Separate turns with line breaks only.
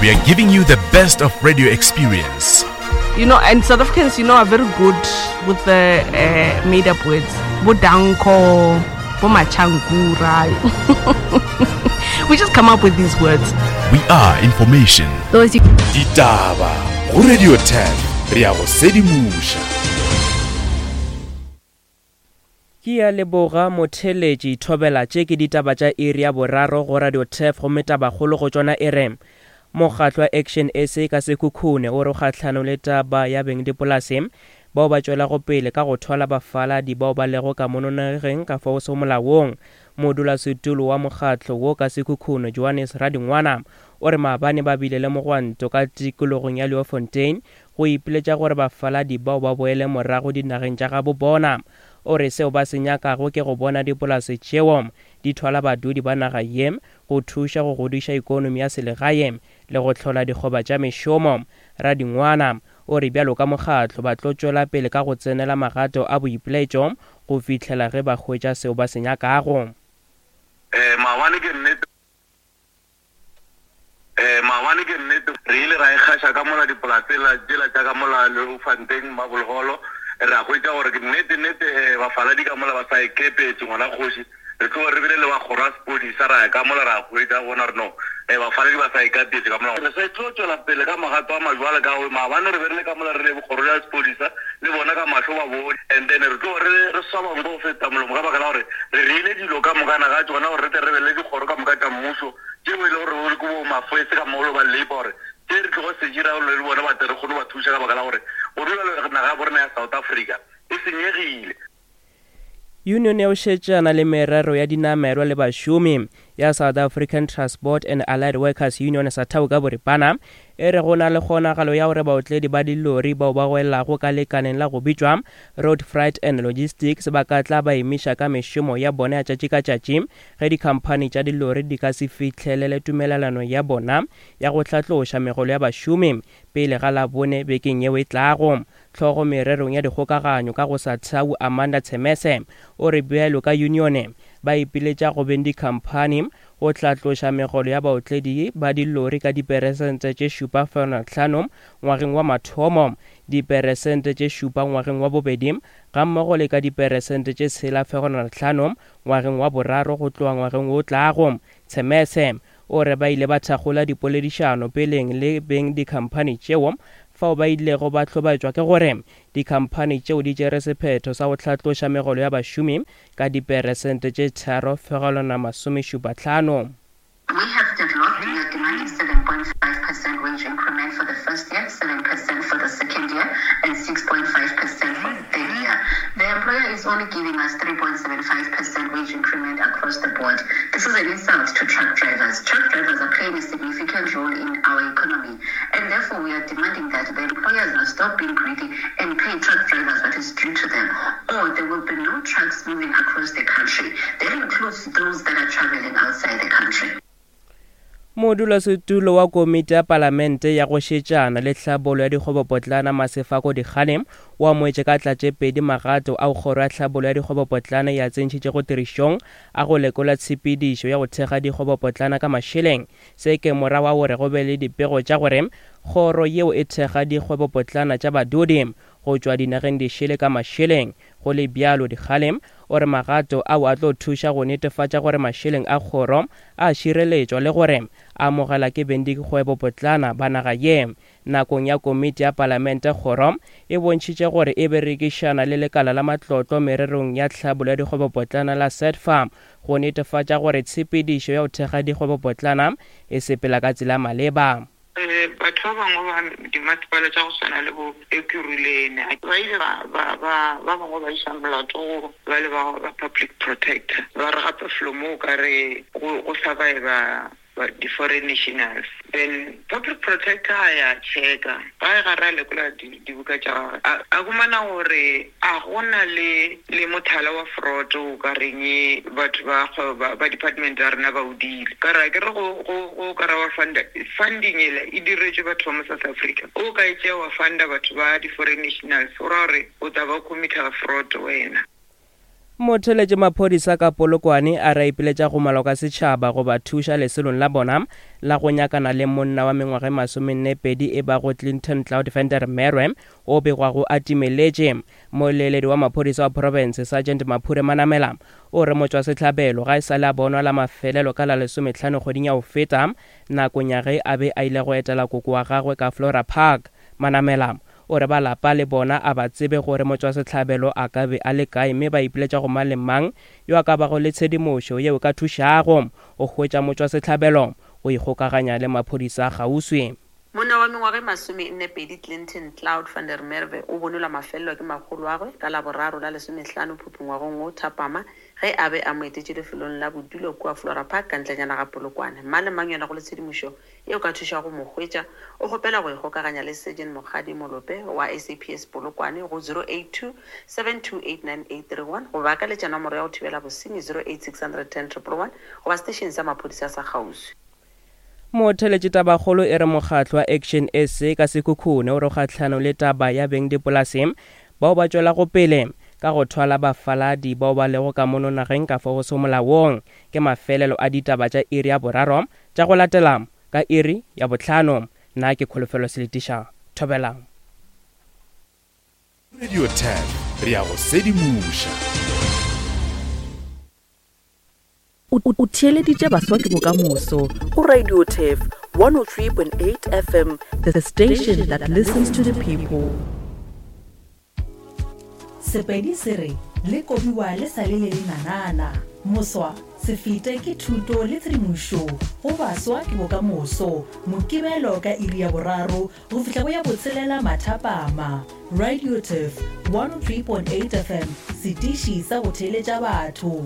We are giving you the best of radio experience.
You know, and South Africans, you know, are very good with the uh, made up words. Bodanko, Bomachangura. we just come up with these words.
We are information.
Those you
Ditaba go Radio 10 re a go sedimoša.
Ke a leboga motheeletši Thobela tše ke ditaba tša iri ya boraro go Radio Turf gomme tabakgolo go tšona e re Mokgatlo wa Action SA ka Sekhukhune o re o kgahlanong le taba ya bengdipolase bao ba tšwelago pele ka go thwala bafaladi bao ba lego ka mono nageng ka fao sego molaong. Modulasetulo wa mokgatlo wo ka Sekhukhune Johannes Radingwana o re maabane ba bile le mogwanto ka tikologong ya Leeuwfontein go ipiletša gore bafaladi bao ba boele morago dinageng tša gabo bona. O re seo ba se nyakago ke go bona dipolase tšeo di thwala badudi ba naga ye go thuša go godiša ikonomi ya selegae le go hlola dikgoba tša mešomo. Radingwana o re bjalo ka mokgatlo ba tlo tšwela pele ka go tsenela magato a boipiletšo go fihlela ge ba hwetša seo ba se nyakago.
Ee, maabane ke nnete. Ee, maabane ke nnete re ile ra ikgaša ka mola dipolaseng tšela tša ka mola Leeufontein, Marble Hall, ra hwetša gore ke nnete nnete bafaladi ka mola ba sa ikepetše ngwana kgoši. Re tloge re bile le ba kgoro ya sepodisa ra ya ka mola ra hwetša bona gore no bafaladi ba sa ikapetše ka mola. Re sa tlo tšwela pele ka magato a majwale ka gore maabane re be re le ka mola re le kgoro ya sepodisa le bona ka mahlo ba bone and then re tloge re re swaba nko go feta molomo ka baka la gore re reile dilo ka mokana ga tšona gore re tle re be le dikgoro ka moka tša mmušo tšeo e le gore ke bo mafese ka molo ba labour gore tše re tlogo se dira le bona ba tle re kgone ba thuša ka baka la gore go dula naga ya borena ya South Africa e senyegile.
Union ya go šetšana le merero ya dinamelwa le bašomi ya South African Transport and Allied Workers Union, SATAWU ka boripana, e re go na le kgonagalo ya gore baotledi ba dilori bao ba gwelago ka lekaleng la go bitšwa Road Freight and Logistics ba ka tla ba emiša ka mešomo ya bona ya tšatši ka tšatši ge dikhamphani tša dilori di ka se fihlelele tumelelano ya bona ya go hlatloša megolo ya bašomi pele ga Labone bekeng yeo e tlago. Hlogo mererong ya dikgokaganyo ka go SATAWU Amanda Tshemese o re bjalo ka yunione ba ipiletša go beng dikhamphani go hlatloša megolo ya baotledi ba dilori ka diperesente tše 7.5 ngwageng wa mathomo, diperesente tše 7 ngwageng wa bobedi gammogo le ka diperesente tše 6.5 ngwageng wa boraro go tloga ngwageng wo tlago. Tshemese o re ba ile ba thakgola dipoledišano peleng le beng dikhamphani tšeo fao ba ilego ba hlobaetšwa ke gore dikhamphani tšeo di tšere sephetho sa go hlatloša megolo ya bašomi ka diperesente tše 3.75.
We have deadlocked, we are demanding 7.5 percent wage increment for the first year, 7 percent for the second year and 6.5 percent for the third year. The employer is only giving us 3.75 percent wage increment across the board. This is an insult to truck drivers. Truck drivers are playing a significant role in our economy and therefore we are demanding that the employers must stop being greedy and pay truck drivers what is due to them or there will be no trucks moving across the country. That includes those that are traveling outside the country.
Modulasetulo wa Komiti ya Palamente ya go Šetšana le Tlhabollo ya Dikgwebopotlana Masefako Dikgane o amogetše ka tlatšepedi magato ao Kgoro ya Tlhabollo ya Dikgwebopotlana e a tsentšhitšego tirišong a go lekola tshepedišo ya go thekga dikgwebopotlana ka mašeleng. Se ke morago ga gore go be le dipego tša gore kgoro yeo e thekga dikgwebopotlana tša badudi go tšwa dinageng dišele ka mašeleng. Go le bjalo, Dikgale o re magato ao a tlo thuša go netefatša gore mašeleng a kgoro a šireletšwa le gore a amogelwa ke bengdikgwebopotlana ba naga ye. Nakong ya komiti ya palamente kgoro e bontšhitše gore e berekišana le lekala la matlotlo mererong ya tlhabollo ya dikgwebopotlana la SEDFA go netefatša gore tshepedišo ya go thekga dikgwebopotlana e sepela ka tsela ya maleba.
Batho ba bangwe ba dimasepala tša go swana le bo Ekurhuleni ba ile ba ba ba ba bangwe ba iša molato go ba le ba ba public protector ba re gape felo mo o ka re go go surviva di-foreign nationals then public protector a ya checka ga e gare a lekola dibuka tša gagwe a humana gore a gona le le mothala wa fraud o ka reng batho ba kgwebo ba department ya rena ba o dile ka re ke re go go go ka ra wa funda funding ela e diretšwe batho ba mo South Africa o ka e tšea wa funda batho ba di-foreign nationals o ra gore o tla ba o committer fraud wena.
Motheletše maphodisa ka Polokwane a re a ipiletša go maloko a setšhaba go ba thuša lesolong la bona la go nyakana le monna wa mengwaga e masomennepedi e bago Clinton Cloud van der Merwe o begwago a timeletše. Moleeledi wa maphodisa wa profense Sergeant Maphure Manamela o re motšwasehlabelo ga e sa le a bonwa la mafelelo ka la lesomehlano kgweding ya go feta nakong ya ge a be a ile go etela koko wa gagwe ka Flora Park. Manamela O re ba lapa le bona a ba tsebe gore motšwasehlabelo a ka be a le kae mme ba ipiletša go mang le mang yo a ka bago le tshedimošo yeo e ka thušago go hwetša motšwasehlabelo go ikgokaganya le maphodisa a kgauswi.
Monna wa mengwaga e masomennepedi Clinton Cloud van der Merwe o bonwe lwa mafelelo ke makgoloagwe ka Laboraro la lesomehlano Phupu ngwagong wo thapama ge a be a mo etetše lefelong la bodulo kua Flora Park ka ntlenyana ga Polokwane. Mang le mang yo a nago le tshedimošo ye o ka thušago go mo hwetša, o kgopela go ikgokaganya le Sergeant Mokgadi Molope wa SAPS Polokwane go 082 728 9831 goba a ka letša nomoro ya go thibela bosenyi 08 610 111 goba seteišene sa maphodisa sa kgauswi.
Motheeletši Tabakgolo e re mokgatlo wa Action SA ka Sekhukhune o re kgahlanong le taba ya bengdipolase bao ba tšwelago pele ka go thwala bafaladi bao ba lego ka mono nageng ka fao go sego molaong. Ke mafelelo a ditaba tša iri ya boraro Tša go latela ka iri ya bohlano. Nna ke Kholofelo Seletiša. Thobela.
Radio 10, re a go sedimoša.
O theeleditše Baswa ke Bokamoso go Radio Turf 103.8 FM, the station that listens to the people.
Sepedi se re, Le kobiwa le sa le le lenanana. Moswa, se fete ke thuto le tshedimošo go baswa ke bokamoso. Mokibelo ka iri ya boraro go fihla go ya botshelela mathapama. Radioturf 103.8 FM, setiši sa go theeletša batho.